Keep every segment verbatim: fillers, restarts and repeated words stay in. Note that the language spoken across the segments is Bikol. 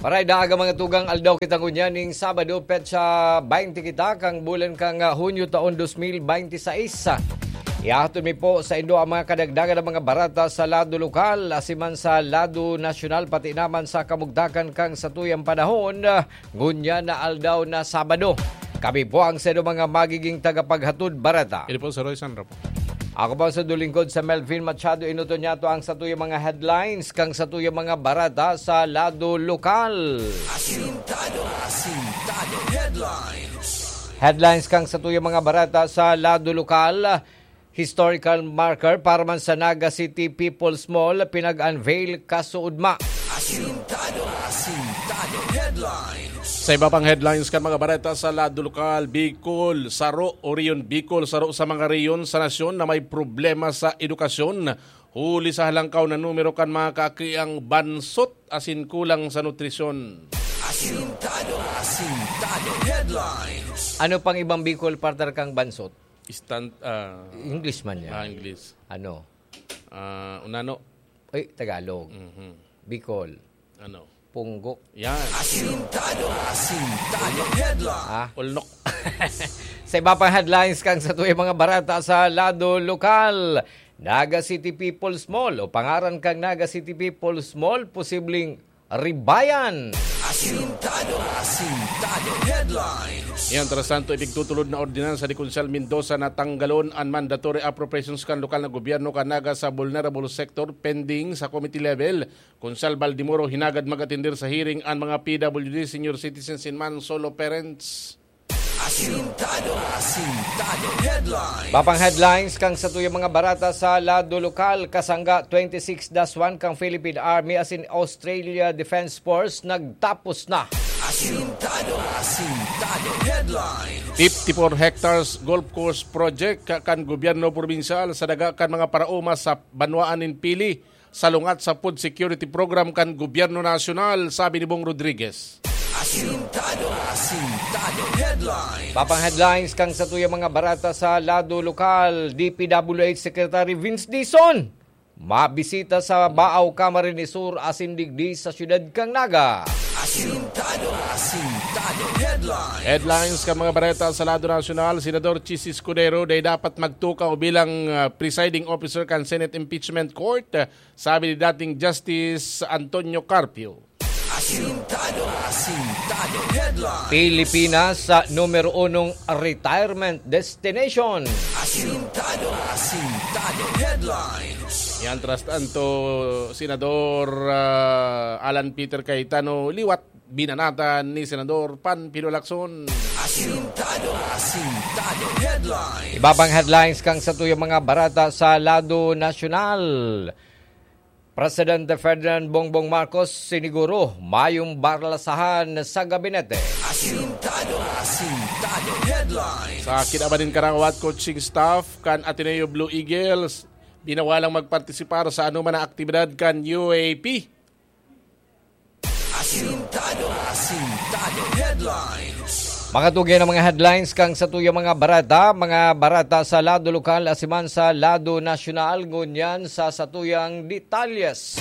Paraidaag mga tugang, aldaw kita ngunyan ning Sabado, petsa baynte kita kan bulan kan, ah, Hunyo taon dos mil baynte sais. Ihahatod mi po saindo ang mga kadagdagan na mga bareta sa lado lokal, asin man sa lado nasyonal, pati naman sa kamugtakan kan satuyang panahon, ah, ngunyan na aldaw na Sabado. Kami po ang saindo mga magiging tagapaghatod bareta. Ini po si Roy Sandro po. Ako po sa dulingkod sa Melvin Machado, inuton niyato ang satuyang mga headlines kan satuyang mga bareta sa lado lokal. Asintado, Asintado Headlines. Headlines kan satuyang mga bareta sa lado lokal. Historical marker para man sa Naga City People's Mall, pinag-unveil kasuodma. Asintado, Asintado Headlines. Sa iba pang headlines kan mga bareta sa lado lokal, Bicol, saro, o rehiyon Bicol, saro sa mga rehiyon sa nasyon na may problema sa edukasyon, huli sa halangkaw na numero kan mga kakiang bansot asin kulang sa nutrisyon. Asintado, Asintado Headlines. Ano pang ibang Bicol, partner, kang bansot? Instant, ah, English man yan. Ah, English. Ano? Ah, unano. Ay, Tagalog. Mhm. Bicol. Ano? Punggok. Yan. Asintado, Asintado Headline. Ah? Ulnok. Sa iba pang headlines kan satuyang mga bareta sa lado lokal, Naga City People's Mall o pangaran kan Naga City People's Mall, posibleng ribayan. Asintado, Asintado Headlines. Yan, tras tanto, ipigtutulod na ordinansa ni Konsehal Mendoza na tanggalon an mandatory appropriations kan lokal na gobyerno kan Naga sa vulnerable sector pending sa committee level. Konsehal Baldemoro hinagad mag-atender sa hearing an mga P W D, senior citizens, and man solo parents. Asintado, Asintado Headlines. Iba pang headlines kan satuyang mga bareta sa lado lokal, kasangga twenty-six dash one kan Philippine Army asin Australia Defense Force nagtapos na. Asintado, Asintado Headlines. Fifty-four hectares golf course project ka-, kan gobyerno probinsyal sa daga kan mga paraoma sa banwaan nin Pili, salungat sa food security program kan gobyerno nasyonal, sabi ni Bong Rodriguez. Asintado, Asintado Headlines. Iba pang headlines kan satuyang mga bareta sa lado lokal, D P W H Secretary Vince Dizon mabisita sa Baao, Camarines Sur asin digdi sa siyudad kan Naga. Asintado, Asintado Headlines. Headlines kan mga bareta sa lado nasyonal, Senador Chiz Escudero dai dapat magtukaw bilang, ah, presiding officer kan Senate Impeachment Court, sabi ni dating Justice Antonio Carpio. Asintado, Asintado Headlines. Pilipinas sa numero unong retirement destination. Asintado, Asintado Headlines. Yan, tras tanto, Senador, ah, Alan Peter Cayetano liwat, binanatan ni Senador Panfilo Lacson. Asintado, Asintado Headlines. Iba pang headlines kan satuyang mga bareta sa lado nasyonal. Presidente Ferdinand Bongbong Marcos siniguro mayong barlasahan sa gabinete. Asintado, Asintado Headlines. Sa kinaban nin karawat coaching staff kan Ateneo Blue Eagles, binawalang magpartisipar sa anoman na aktibidad kan U A P. Asintado, Asintado Headlines. Mga tugyan na mga headlines kan satuyang mga bareta, mga bareta sa lado lokal asin man sa lado nasyonal, ngunyan sa satuyang detalyes.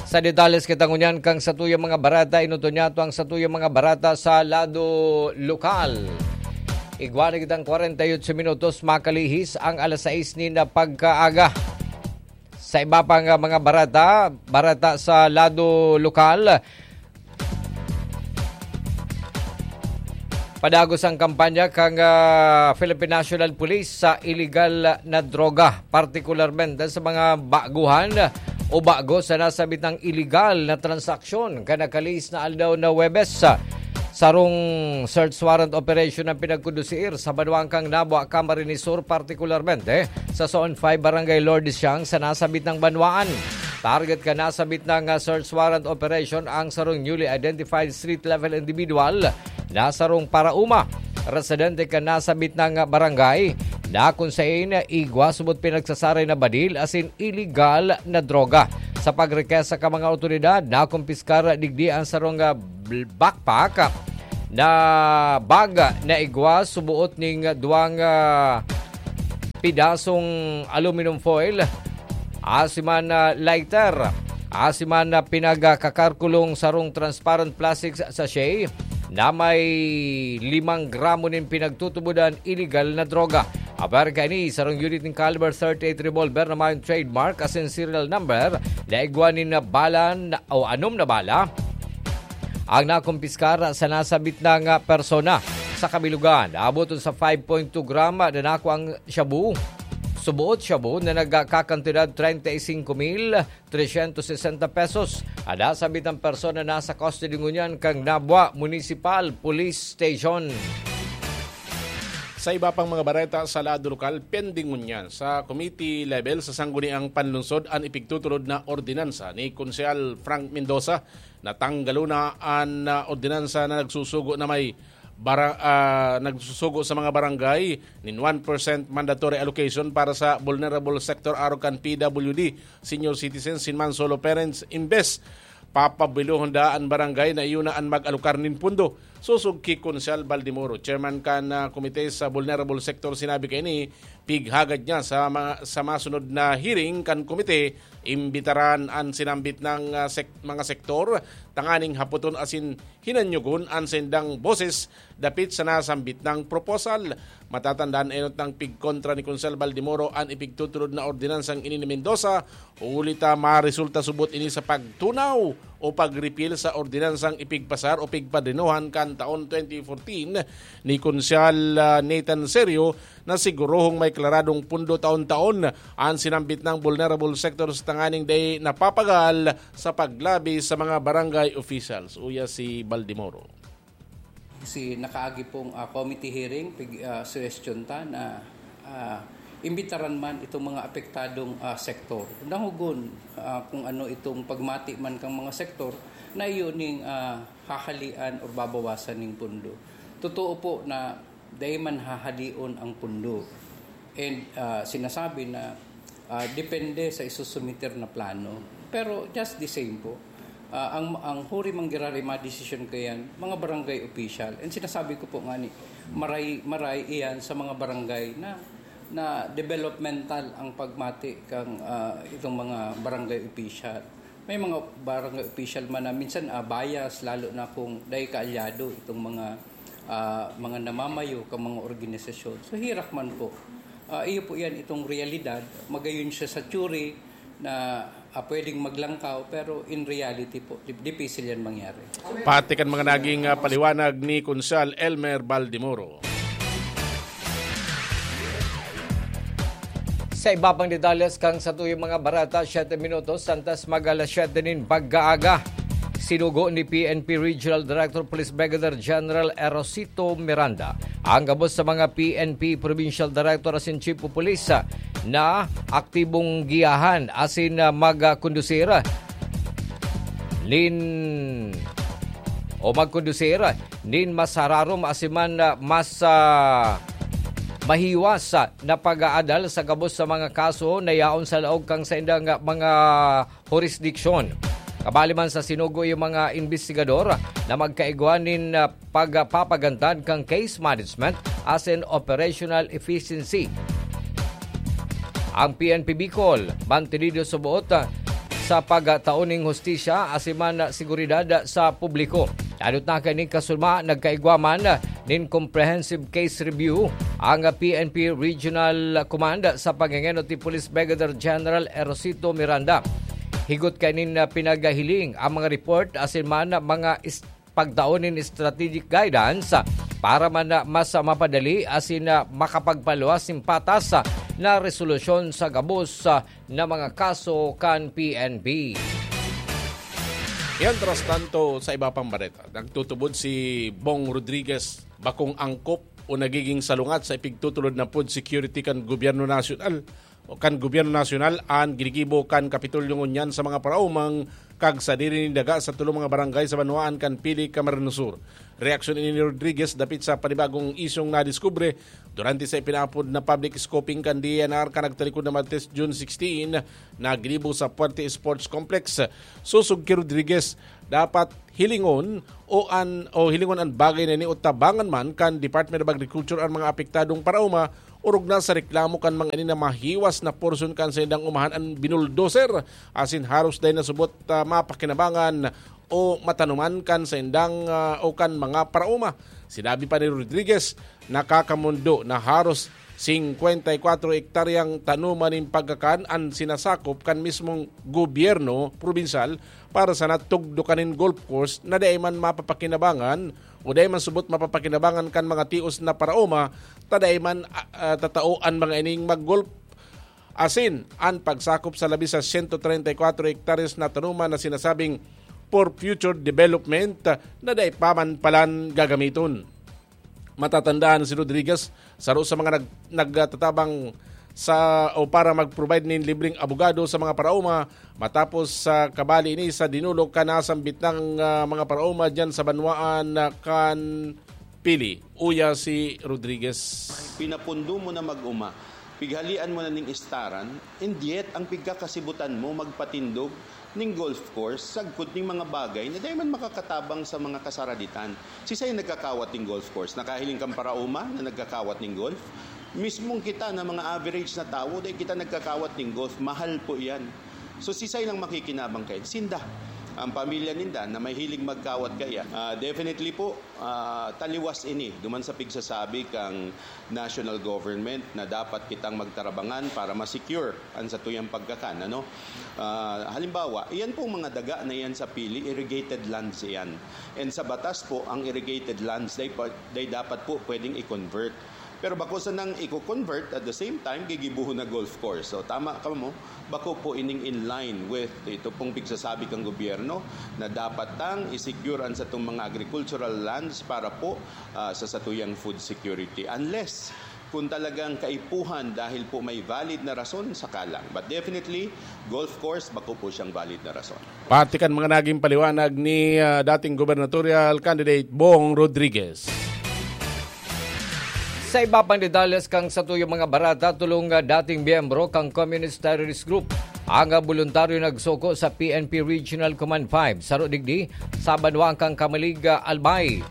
Sa detalyes kita ngunyan kan satuyang mga bareta, inuton niyato ang satuyang mga bareta sa lado lokal. Igwa na kitang kwarenta y ocho minutos, makalihis ang alas sais nin pagkaaga. Sa iba pang, ah, mga bareta, bareta sa lado lokal, padagos ang kampanya kan, ah, Philippine National Police sa iligal na droga, partikularmente sa mga baguhan o bago sa nasabitang iligal na transaksyon kan nakalihis na aldaw na Huwebes. Sarong search warrant operation ang pinagkondusir sa banwaan kan Nabua, Camarines Sur, partikularmente sa Zone five, Barangay Lourdes Siang sa nasabitang banwaan. Target kan nasabitang, ah, search warrant operation ang sarong newly identified street-level individual na sarong paraoma, residente kan nasabitang barangay, na kun saen igwa subot pinagsasaray na badil asin iligal na droga. Sa pagrekesta kan mga awtoridad, nakumpiskar digdi ang sarong, ah, bl-, backpack, na bag na igwa suboot ning duwang, ah, pidasong aluminum foil, asiman na lighter, asiman na pinagkakakulong sarong transparent plastic sa-, sachet na may limang gramo nin pinagtutubodan iligal na droga. Aber kaini, sarong unit nin caliber thirty-eight revolver na mayong trademark asin serial number na igwa nin bala na, o anom na bala ang nakumpiskar sa nasabit na nga persona. Sa kabilugan, naaboton sa five point two gram na nakuang shabu, suboot shabu na nagkakantidad treinta y cinco mil trescientos sesenta pesos. An nasabit na persona nasa custody ngunyan kan Nabua Municipal Police Station. Sa iba pang mga bareta sa lado lokal, pending ngunyan sa committee level sa Sangguniang Panlungsod an ipigtutulod na ordinansa ni Konsehal Frank Mendoza. Natanggalon na an, ah, ordinansa na nagsusugo na may bara-, ah, nagsusugo sa mga barangay nin one percent mandatory allocation para sa vulnerable sector arog kan P W D, senior citizens, sin man solo parents, imbes papabilohon da an barangay na iyo na an mag-alokar nin pundo. Sosog ki Konsehal Baldemoro, chairman kan, ah, komite sa vulnerable sector, sinabi kaini, pighagad niya sa mga, sa masunod na hearing kan komite, imbitaran an sinambit ng, ah, sek-, mga sektor tanganing hapoton asin hinanyogon an saindang boses dapit sa nasambit na proposal. Matatandaan, enot nang pigkontra ni Konsehal Baldemoro an ipigtutulod na ordinansang ini ni Mendoza, huli ta maresulta subot ini sa pagtunaw o pag-repeal sa ordinansang ipigpasar o pigpadenohan kan taon twenty fourteen ni Konsehal, ah, Nathan Serio, na sigurohong may klaradong pundo taon-taon an sinambit na vulnerable sector sa tanganing dai napapagal sa paglabi sa mga barangay officials. Uya si Baldemoro. Si nakaagi pong, ah, committee hearing, pig-, ah, suggestion ta na, ah, imbitaran man itong mga apektadong, ah, sektor. Dangogon, ah, kung ano itong pagmati man kang mga sektor na iyo ning, ah, hahalian or babawasan ning pundo. Totoo po na dai man hahalion ang pundo. And, ah, sinasabi na, ah, depende sa isusumiter na plano. Pero just the same po, ah, ang, ang huri man girari madesisyon kayan, mga barangay official. And sinasabi ko po nga ni, maray, maray iyan sa mga barangay na, na developmental ang pagmati kang, ah, itong mga barangay official. May mga barangay official man na minsan, ah, bias, lalo na kung dai kaalyado itong mga, ah, mga namamayo kang mga organisasyon. So, hirak man po. Ah, iyo po yan, itong realidad. Magayon siya sa theory na, ah, pwedeng maglangkaw, pero in reality po, dip-, dipisil yan mangyari. Pati kan mga naging, ah, paliwanag ni Konsehal Elmer Baldemoro. Sa iba pang detalles kan satuyang mga bareta, siyete minutos antes mag alas siyete nin pag-aaga. Sinugo ni P N P Regional Director Police Brigadier General Erosito Miranda ang gabos sa mga P N P Provincial Director asin Chief of Police na aktibong giyahan asin, ah, magkondusir nin o magkondusir nin mas hararom asin man, ah, mas, ah, mahiwas, ah, na pag-aadal sa gabos sa mga kaso na yaon sa laog kan saindang, ah, mga hurisdiksyon. Kabali man sa sinugo yung mga imbestigador na magkaigwa nin, ah, pagpapagantad kan case management asin operational efficiency. Ang P N P Bicol, mantinido sa buot, ah, sa pagtao ning hustisya asin man seguridad sa publiko. Danot na kaini kasunma, nagkaigwa man nin comprehensive case review ang P N P Regional Command sa pangengenot ni Police Brigadier General Erosito Miranda. Higot kainin, ah, pinagahiling ang mga report asin man mga is-, pagtao nin strategic guidance para man na mas mapadali asin na makapagpaluwas nin patas na resolusyon sa gabos na mga kaso kan P N P. Mientras tanto, sa iba pang bareta, nagtutubod si Bong Rodriguez, bakong angkop o nagiging salungat sa ipigtutulod na food security kan gobyerno nasyonal o kan gobyerno nasyonal an ginigibo kan Kapitolyo ngunyan sa mga paraomang kag sadiri nin daga sa tulo mga barangay sa banwaan kan Pili, Camarines Sur. Reaksyon ini ni Rodriguez dapit sa panibagong isyong nadiskubre durante sa ipinaapod na public scoping kan D E N R kan nagtalikod na Martes, June sixteen, na ginibo sa Puerte Sports Complex. Sosog ki Rodriguez, dapat hilingon o an o hilingon an bagay na ini o tabangan man kan Department of Agriculture an mga apektadong paraoma, orog na sa reklamo kan mga ini na mahiwas na porsyon kan saindang umahan an binuldoser, asin haros dai na subot, ah, mapakinabangan o matanuman kan saindang, ah, o kan mga paraoma. Sinabi pa ni Rodriguez, nakakamondo na haros singkwenta y kwatro hektaryang tanoman nin pagkakan an sinasakop kan mismong gobyerno probinsyal para sa natugdokan nin golf course na dai man mapapakinabangan o dai man subot mapapakinabangan kan mga tios na paraoma, ta dai man, ah, ah, tatao an mga ining mag-golf. Asin, an pagsakop sa labi sa sento treinta y kwatro hektaryas na tanoman na sinasabing for future development, ah, na dai pa man palan gagamiton. Matatandaan si Rodriguez, saro sa mga nag-, nagtatabang sa o para mag-provide nin libreng abogado sa mga paraoma matapos sa kabali ini sa dinulog kan nasambit nang, ah, mga paraoma diyan sa banwaan, ah, kan Pili. Uya si Rodriguez. Pinapundo mo na mag-oma, pighalian mo na ning istaran, and yet ang pigkakasibutan mo magpatindog ning golf course sagkod ning mga bagay na dai man makakatabang sa mga kasaraditan. Sisay nagkakawat ning golf course? Nakahiling kan paraoma na nagkakawat ning golf? Mismong kita na mga average na tawo, dai kita nagkakawat ning golf. Mahal po yan. So, sisay lang makikinabang kayan? Sinda. Ang pamilya ninda na mahilig magkawat kaya. Ah, definitely po, ah, taliwas ini duman sa pigsasabi kang national government na dapat kitang magtarabangan para ma-secure an satuyang pagkakan, ano? Ah, halimbawa, iyan pong mga daga na iyan sa Pili, irrigated lands iyan. And sa batas po, ang irrigated lands, they, pa- they dapat po pwedeng i-convert. Pero bako sanang i-convert, at the same time, gigibohon na golf course. So, tama ka mo, bako po ining in line with ito pong pigsasabi kang gobyerno na dapat tang i-secure an satong mga agricultural lands para po, ah, sa satuyang food security. Unless kung talagang kaipuhan dahil po may valid na rason, saka lang. But definitely, golf course, bako po siyang valid na rason. Pati kan mga naging paliwanag ni, ah, dating gubernatorial candidate Bong Rodriguez. Sa iba pang detalles kan satuyang mga bareta, tolong, ah, dating miyembro kan Communist Terrorist Group ang, ah, boluntaryo nagsuko sa P N P Regional Command five, saro digdi sa banwaan kan Camalig, ah, Albay.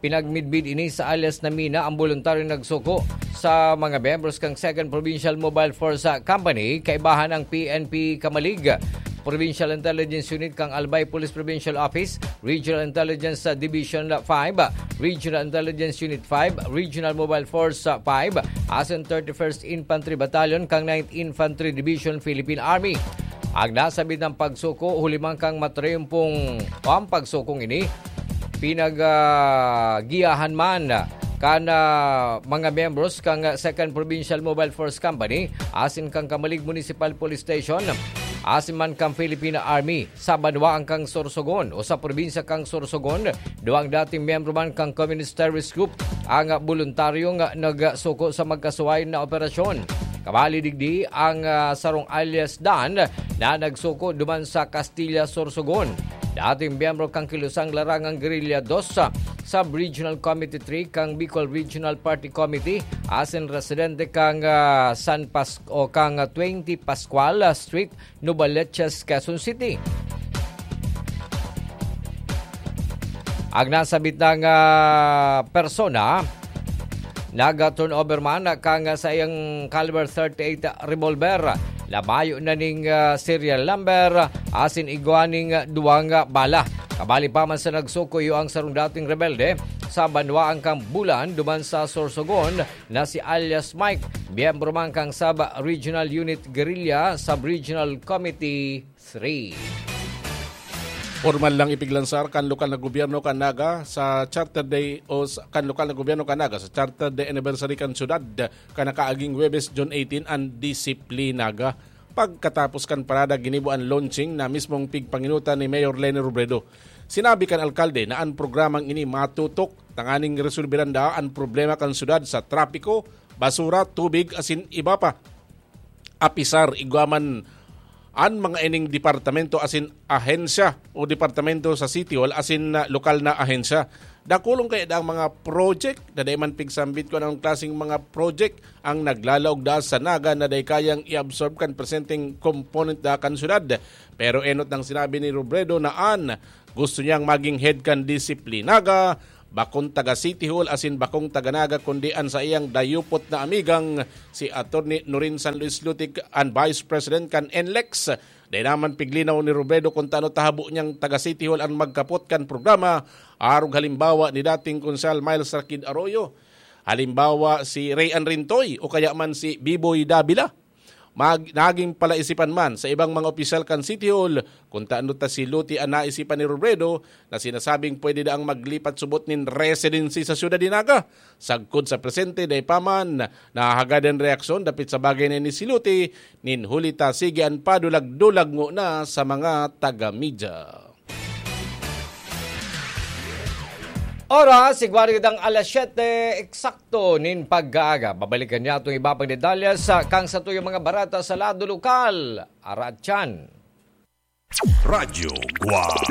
Pinagmidbid ini sa alias na Mina ang boluntaryong nagsuko sa mga miyembros kan Second Provincial Mobile Force, ah, Company, kaibahan ang P N P Camalig, Provincial Intelligence Unit kan Albay Police Provincial Office, Regional Intelligence, ah, Division five, Regional Intelligence Unit five, Regional Mobile Force, ah, five, asin thirty-first Infantry Battalion kan Ninth Infantry Division, Philippine Army. Ang nasabit na pagsuko, huli man kan matriumpong o ang pagsukong ini, pinag, ah, giyahan man kan, ah, mga miyembros kan Second Provincial Mobile Force Company asin kan Camalig Municipal Police Station asin man kan Philippine Army sa banwaan kan Sorsogon o sa probinsya kan Sorsogon. Duwang dating miyembro man kan Communist Terrorist Group ang boluntaryong nagsuko sa magkasuwayan na operasyon. Kabali digdi ang, ah, sarong alias Dan na nagsuko duman sa Castilla, Sorsogon. Dating miyembro kan Kilusang Larangang Guerrilla dos, ah, Sub-Regional Committee three kan Bicol Regional Party Committee, asin residente kan, ah, San Pas-, o kan, ah, twenty Pascual, ah, Street, Novaliches, Quezon City. Ang nasabit na, ah, persona, nag-turnover man kan saiyang caliber thirty-eight revolver na mayo na ning, ah, serial number asin igwa ning duwang bala. Kabali pa man sa nagsuko iyo ang sarong dating rebelde sa banwaan kan Bulan duman sa Sorsogon na si alias Mike, miyembro man kan Sub-Regional Unit Guerrilla Sub-Regional Committee three. Pormal lang ipiglansar kan lokal na gobyerno kan Naga sa Charter Day o sa, kan lokal na gobyerno kan Naga sa Charter Day anniversary kan syudad kan nakaaging Huwebes, June eighteen, an Disiplinaga. Pagkatapos kan parada, ginibo an launching na mismong pigpanginutan ni Mayor Leni Robredo. Sinabi kan alkalde na an programang ini matutok tanganing resolbiran daa an problema kan syudad sa trapiko, basura, tubig, asin iba pa. Apisar igwa man an mga ining departamento asin ahensya o departamento sa City Hall asin, ah, lokal na ahensya. Dakulon kaya daang mga project na dai man pigsambit kun anong klaseng mga project ang naglalaog daa sa Naga na dai kayang i-absorb kan presenteng component da kan syudad. Pero enot nang sinabi ni Robredo na an gusto niyang maging head kan D C P Naga, bakong taga City Hall asin bakong taga Naga kundi an saiyang dayupot na amigang si Attorney Norin San Luis Lutic, an Vice President kan N L E X. Dai naman piglinaw ni Robredo kung tano tahabo niyang taga City Hall ang magkapot kan programa, arog halimbawa ni dating Konsehal Miles Rakid Arroyo. Halimbawa, si Ray Anrintoy o kaya man si Biboy Davila. Mag, naging palaisipan man sa ibang mga opisyal kan City Hall kung tano ta si Luti an naisipan ni Robredo na sinasabing pwede daang maglipat subot nin residency sa syudad ni Naga. Sagkod sa presente, dai pa man nahahagad an reaksyon dapit sa bagay na ini si Luti, nin huli ta sige an padulag-dulag ngona sa mga taga-media. Oras, igwa na kitang alas siyete eksakto nin pagkaaga. Babalikan niya itong iba pang detalye sa kang sa tuyong mga barata sa lado lokal. Aratyan. Radyo Guwang.